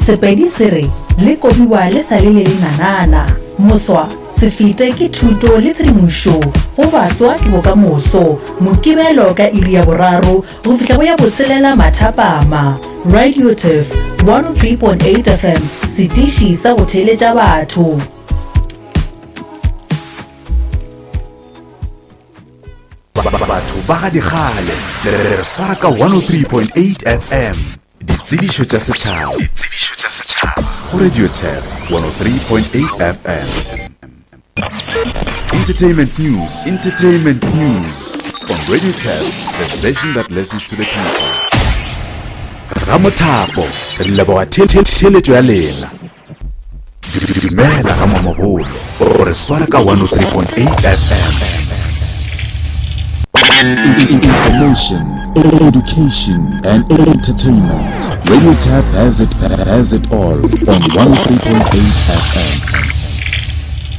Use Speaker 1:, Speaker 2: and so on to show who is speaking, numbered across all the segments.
Speaker 1: Sepedi se re, Le kobiwa le sa le le lenanana. Moswa, se fete ke thuto le tshedimošo go baswa ke bokamoso. Mokibelo ka iri ya boraro go fihla go ya botshelela mathapama. Radio Turf 103.8 FM, setiši sa go theeletša batho.
Speaker 2: Batho ba ga dikgale le re swara ka 103.8 FM. Ditsebišo tša setšhaba. Ditsebišo tša setšhaba. Go Radio Tap 103.8 FM. Entertainment news. Entertainment news on Radio Tap, the station that listens to the people. Ramothapo, re leboga theletšo ya lena. Dumela ga Mamabolo, o re swara ka 103.8 FM. Information, education, and entertainment. Radio Tap has it, has it all on 103.8 FM.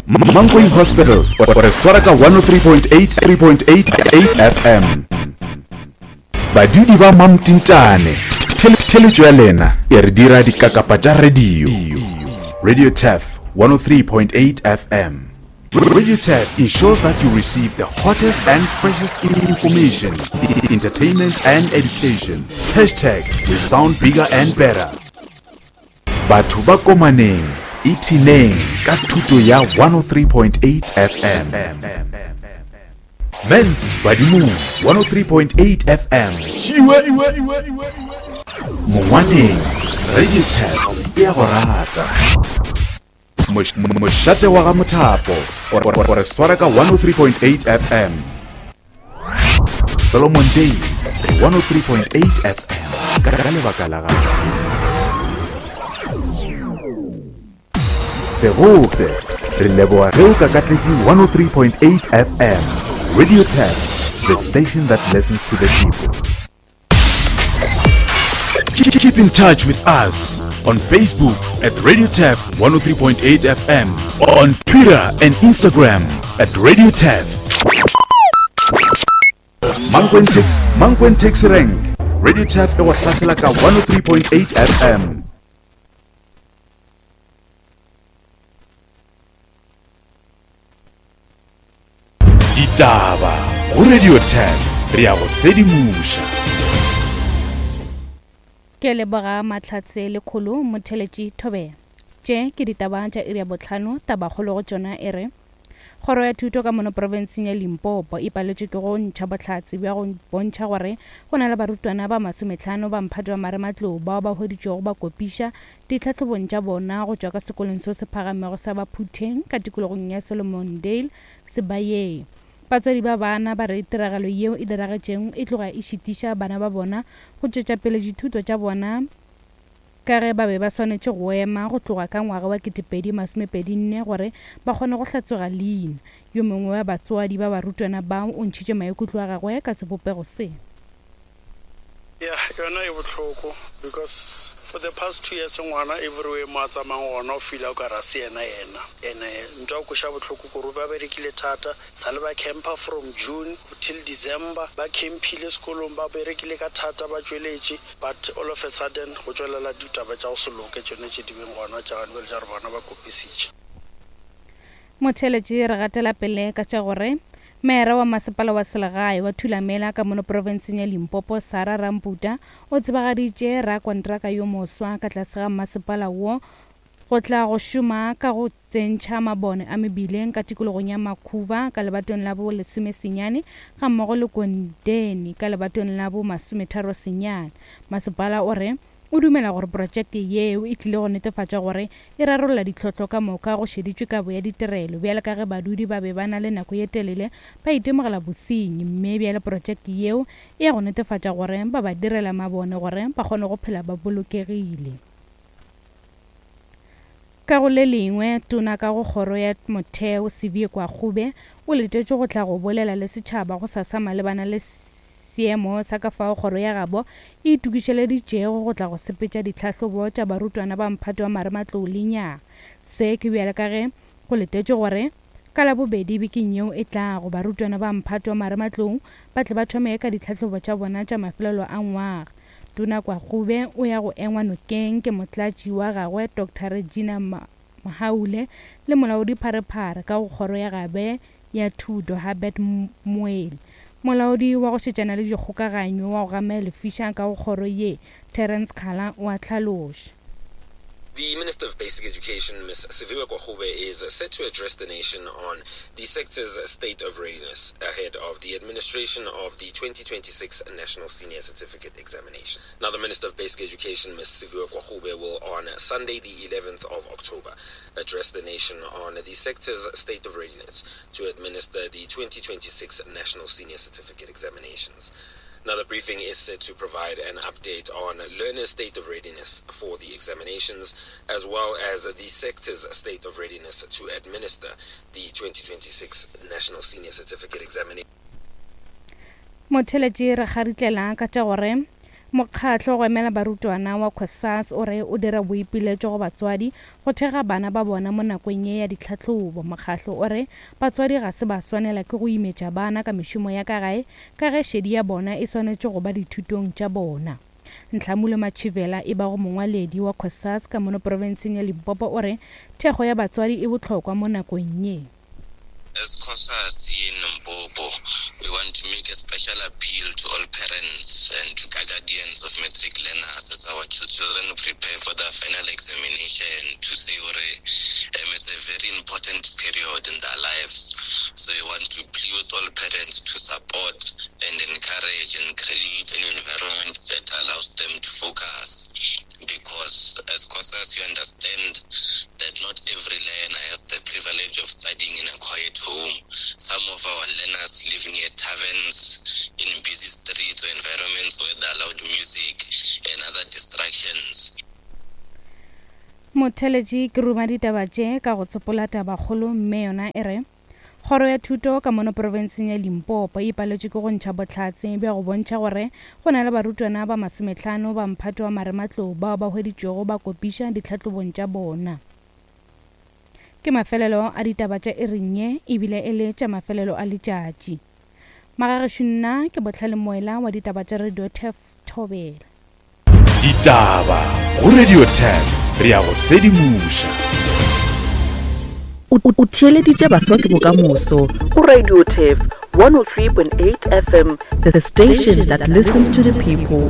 Speaker 2: Mankweng Hospital, o re swara ka 103.8 3.8 FM. Badudi ba Mamtintane, theletšo ya lena e re dira dikakapa tša radio. Radio Turf 103.8 FM. Radio Turf ensures that you receive the hottest and freshest information, entertainment and education. Hashtag we sound bigger and better. Batho ba Komaneng, ipshineng ka thuto ya 103.8 FM. Mens Badimong 103.8 FM. Šiwe! Mongwaneng, Radio Tap e a go rata. Mošate wa ga Mothapo, o re swara ka 103.8 FM. Solomon Day 103.8 FM ka lebaka la gago. Segopše, re leboga ge o kakatletše 103.8 FM. Radio Tap, the station that listens to the people. Keep in touch with us on Facebook at Radio Tap 103.8 FM, on Twitter and Instagram at Radio Tap. Mankweng Taxi, Mankweng Taxi Rank, Radio Tap e go hlasela ka 103.8 FM. Ditaba go Radio 10 re ya go sedimoša.
Speaker 3: Ke leboga Mahlatse Lekholo Motheletši Thobela. Tše ke ditaba tša iri ya bohlano, tabakgolo go tšona e re, Kgoro ya Thuto ka mono profenseng ya Limpopo e paletšwe ke go ntšha bohlatse bja go bontšha gore go na le barutwana ba masomehlano ba mphato wa marematlou bao ba hweditšwego ba kopiša ditlhahlobong tša bona go tšwa ka sekolong seo se phagamego sa Baphutheng ka tikologong ya Solomondale, Sebayeng. Batswadi ba bana ba re tiragalo yeo e diragetšego e tloga e šitiša bana ba bona go tšwetša pele dithuto tša bona ka ge ba be ba swanetše go ema go tloga ka ngwaga wa 2024 gore ba kgone go hlatswega leina. Yo mongwe wa batswadi ba barutwana bao o ntšhitše maikutlo a gagwe ka sebopego se.
Speaker 4: Ya yona e bohloko because for the past two years ngwana everywhere mo a tsamayang gona o feela o kare a se yena yena ene ntho ya go kweša bohloko kore ba berekile thata sale ba camper from June till December ba campile sekolong ba berekile ka thata ba tšweletše but all of a sudden go tšwelela ditaba tša go se loke tšone tše di beng gona tša gane bjale tša gore bona ba kopisitše.
Speaker 3: Motheeletši re gatela pele ka tša gore Meyara wa masepala wa selegae wa Thulamela ka mono profenseng ya Limpopo Sarah Ramputa o tsebagaditše rakontraka yo moswa ka tlase ga masepala wo go tla go šoma ka go tsentšha mabone a mebileng ka tikologong ya Makhuba ka lebatong la bo lesomesenyane gammogo le Kondeni ka lebatong la bo masometharosenyane. Masepala o re O dumela gore protšeke yeo e tlile go netefatša gore e rarolla ditlhohlo ka moka go šeditšwe kabo ya ditirelo bjalo ka ge badudi ba be ba na le nako ye telele ba itemogela bosenyi mme bjale protšeke yeo e ya go netefatša gore ba ba direla mabone gore ba kgone go phela ba bolokegile. Ka go le lengwe, Tona ka go Kgoro ya Motheo, Sibye Kwakgube, o letetšwe go tla go bolela le setšhaba gosasa malebana le seemo sa ka fao kgoro ya gabo e itokišeleditšego go tla go sepetša ditlhahlobo tša barutwana ba mphato wa marematlou lenyaga. Se ke bjale ka ge go letetšwe gore ka Labobedi bekeng yeo e tlago barutwana ba mphato wa marematlou ba tle ba thome ka ditlhahlobo tša bona tša mafelelo a ngwaga. Tona Kwagube o ya go engwa nokeng ke motlatši wa gagwe Doctor Regina Mhaule le molaodipharephare ka go kgoro ya gabe ya thuto Herbert Moeli. Molaodi wa go šetšana le dikgokaganyo wa go gama lefiša ka go kgoro ye, Terence Khala o a hlaloša.
Speaker 5: The Minister of Basic Education, Ms Siviwe Gwarube, is set to address the nation on the sector's state of readiness ahead of the administration of the 2026 National Senior Certificate Examination. Now, the Minister of Basic Education, Ms Siviwe Gwarube, will on Sunday, the 11th of October, address the nation on the sector's state of readiness to administer the 2026 National Senior Certificate Examinations. Now, the briefing is set to provide an update on learners' state of readiness for the examinations, as well as the sector's state of readiness to administer the 2026 National Senior Certificate Examination.
Speaker 3: Motheletši re kgaritlela ka tša gore Mokgatlo go emela barutwana wa COSAS o re o dira boipiletšo go batswadi go thekga bana ba bona mo nakong ye ya ditlhahlobo. Mokgatlo o re batswadi ga se ba swanela ke go imetša bana ka mešomo ya ka gae ka ge šedi ya bona e swanetše go ba dithutong tša bona. Nhlamulo Matšhivela e bago mongwaledi wa COSAS ka mono profenseng ya Limpopo o re thekgo ya batswadi e bohlokwa mo nakong ye.
Speaker 6: As COSAS in Limpopo, we want to make a special appeal to all parents and to guardians of matric learners as our children prepare for their final examination to say gore um, it's a very important period in their lives. So we want to plead with all parents to support and encourage and create an environment that allows them to focus. Because as COSAS, you understand that not every learner has the privilege of studying in a quiet home. Some of our learners live near taverns, in busy streets or environments where there are loud music and other distractions.
Speaker 3: Motheletši ke ruma ditaba tše ka go tsopola tabakgolo mme yona e re Kgoro ya Thuto ka mono profenseng ya Limpopo e paletšwe ke go ntšha bohlatse bja go bontšha gore go na le barutwana ba masomehlano ba mphato wa marematlou bao ba hweditšwego ba kopiša ditlhahlobong tša bona. Ke mafelelo a ditaba tša iring ye ebile e le tša mafelelo a letšatši. Magagešo nna ke Bohlale Moela wa ditaba tša Radio Turf Thobela.
Speaker 2: Ditaba go Radio 10 re ya go sedimoša.
Speaker 1: O theeleditše Baswa ke Bokamoso go Radio Turf 103.8 FM, the station that listens to the people.